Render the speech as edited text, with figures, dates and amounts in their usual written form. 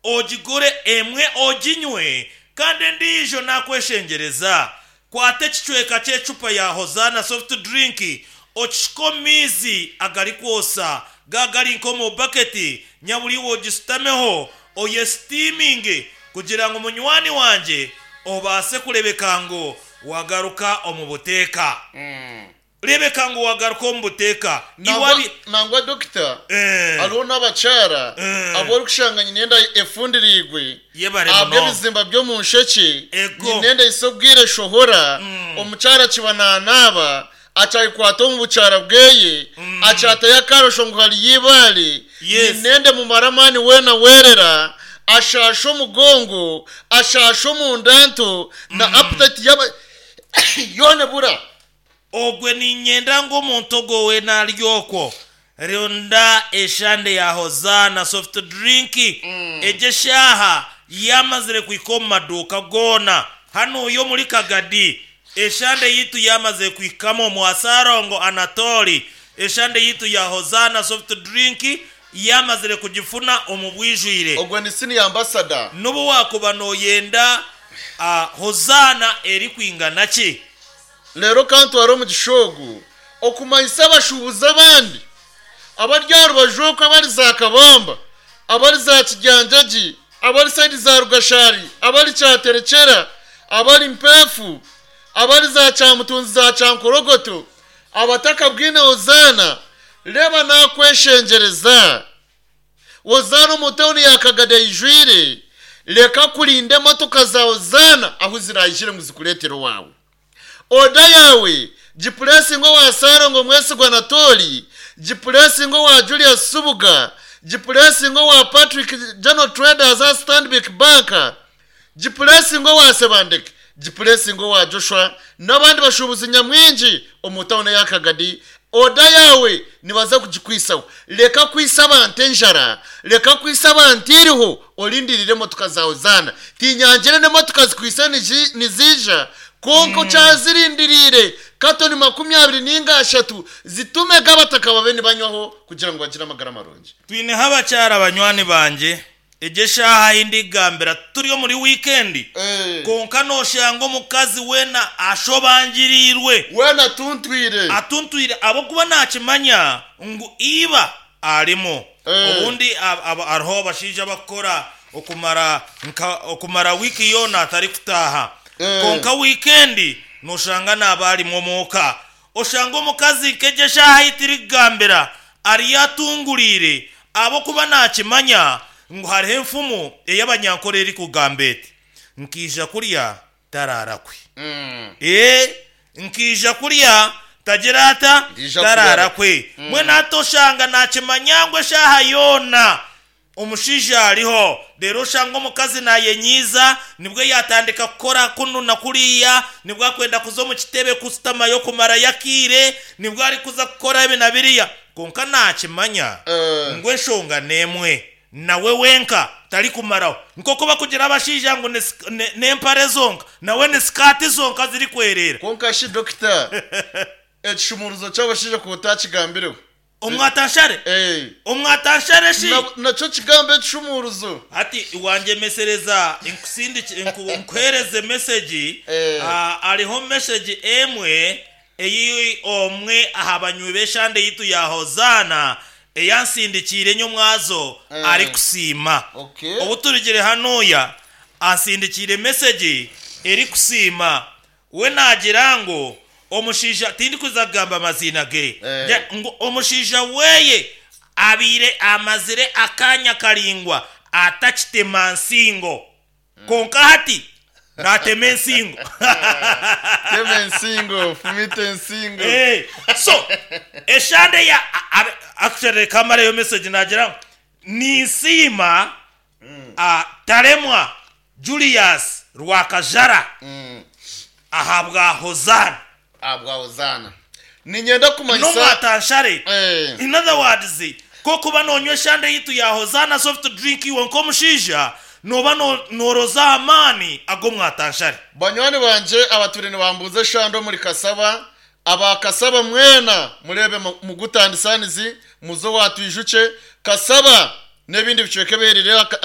Ogigure emwe oginywe kandi endiijo nakweshengyereza kwata ekicweka ky'ecupa ya Hosanna soft drink okishuke omu maizi agarikwotsa ga gari nk'omu baketi nyabura iwe ogisutameho oyesitiiminge kugira ngu munywani wangye obaase kurebeka ngu wagaruka omu buteeka. Rebeka ngu wagaruka omu buteeka. Iwe Nangwa, abi. nangwa dokita, Eh. hariho n'abakyara Eh. abu orikushanga nyine enda efundiriirwe Yebare munonga. ahabw'ebizimba by'omu nshekye, Ego. nyine enda ehitsya obwire eshohora, omukyara akiba nanaaba, akyagikwata omu bukyara bweye, akyatayo akarosho ngu hariyo eibaare, Yes. nyine enda emumara amaani weena werera, ashaasha omugongo, ashaasha omunda nto, na appetite yaba yoona ebura. Ogwe niinyenda ngu omuntu ogwo weena ari okwo, ronda eshande ya Hozaana soft drink egyo eshaaha yaamazire kuhika omu maduuka goona. Hanuuya omuri Kagadi, eshande yaitu yaamazire kuhikamu omwa Ssalongo Anatoli, eshande yaitu ya Hozaana soft drink yaamazire kugifuna omu bwijwire. Ogwo ni senior ambassador. N'obu waakuba nooyenda Hozaana erikwingana ki. Reero kantware omugisha ogu okumanyisa abashuubuzi abandi abari aha rubaju oku abari za Kabamba, abari za Kigyanjagi, abari sayidi za Rugashari, abari Kyaterekyera, abari Mpeefu, abari za Kyamutunzi za Kyankorogoto, abatakabwine Hozaana, reeba naakweshengyereza. Hozaana omu tauni ya Kagadi eijwire, reka kurinda emotoka za Hozaana ahu ziraijire ngu zikureetere owaawe. Oda yaawe gipuresinge owa Ssalongo Mwesigwa Anatoli, gipuresinge owa Julius Subuga, gipuresinge owa Patrick General Traders aha Stanbic Bank, Gipuresinge owa Sebandeke, Gipuresinge owa Joshua n'abandi bashuubuzi nyamwingi omu tauni eya Kagadi, oda yaawe nibaza kugikwisaho. Reka kwitsa abantu enjara, reka kwitsa abantu eiriho orindirire emotoka zaawe zaana. Tinyangire n'emotoka zikwitse niziija, kwonka okyazirindiriire katoni 20 nainga ashatu zitumege abataka babe nibanywaho kugira ngu bagire amagara marungi. Twineho abakyara banywani bangye Egyo eshaaha ahi ndikugambira turi omuri wiikendi, kwonka nooshanga omukazi weena ashobangiriirwe. Weena atuntwire. Atuntwire ahabw'okuba naakimanya ngu iba arimu. Obundi hariho abashaija abakukora okumara nka okumara wiiki yoona atarikutaaha. Kwonka wiikendi nooshanga naaba arimu omuuka. Oshanga omukazi nk'egyo eshaaha ei turikugambira ariyo atunguriire ahabw'okuba naakimanya ngu hariho enfumu ey'Abanyankore erikugamba eti, Nkaija kurya taraara kwe. Ee, nkaija kurya tagira ata? Taraara kwe. Mbwenu hati oshanga naakimanya ngu eshaaha yoona Omushaija ariho, reero oshanga omukazi naayenyiiza, nibwo yaatandika kukora kunu na kuriya, nibwo arikwenda kuza omu kitebe kushutamayo kumarayo akaire, nibwo arikuza kukora ebi na biriya. Kwonka naakimanya ngu enshonga n'emwe, nawe wenka tarikumaraho. Nk'oku barikugira abashaija ngu n'empare zonka, nawe ni sikaati zonka zirikwereera. Kwonka shi dokita, ekishumuruzo ky'abashaija ku otakigambireho? Omwatanshare? Ee. Omwatanshare shi? Na, nakyo kigambo ekishumuuruzo. Hati wangyemesereza nkusindikye, nku, nkuheereze mesegi. Ee. Ah, hariho mesegi emwe ei omwe aha banywi b'eshande yaitu ya Hozaana eyansindikiire nyomwazo Ee. arikusiima. Okay. Obu turugire hanuuya, ansindikiire mesegi erikusiima. We naagira ngu omushaija, tindikuza kugamba maziina ge, ngu omushaija weye abaire amazire akaanya karaingwa atakitema nsingo, kwonka hati naatema ensingo. Tema ensingo, fumita ensingo. So, eshande ya, actually reka mareyo message naagira ngu ninsiima Taremwa Julius Rwakajara ahabwa Hozaana. Ahabwa Hozaana. Niinyenda kumanyisa. N'omwatanshare. Eh. In other words, ku okuba noonywa eshande yaitu ya Hozaana soft drink iwe nk'omushaija nooba nooroza aha maani ag'omwatanshare. Banywani bangye abatwire nibambuuza eshande omuri Kasaba, aba Kasaba mwena mureebe mugutandisanizi muze owa Twijukye, Kasaba n'ebindi bicweka ebihererire ahari.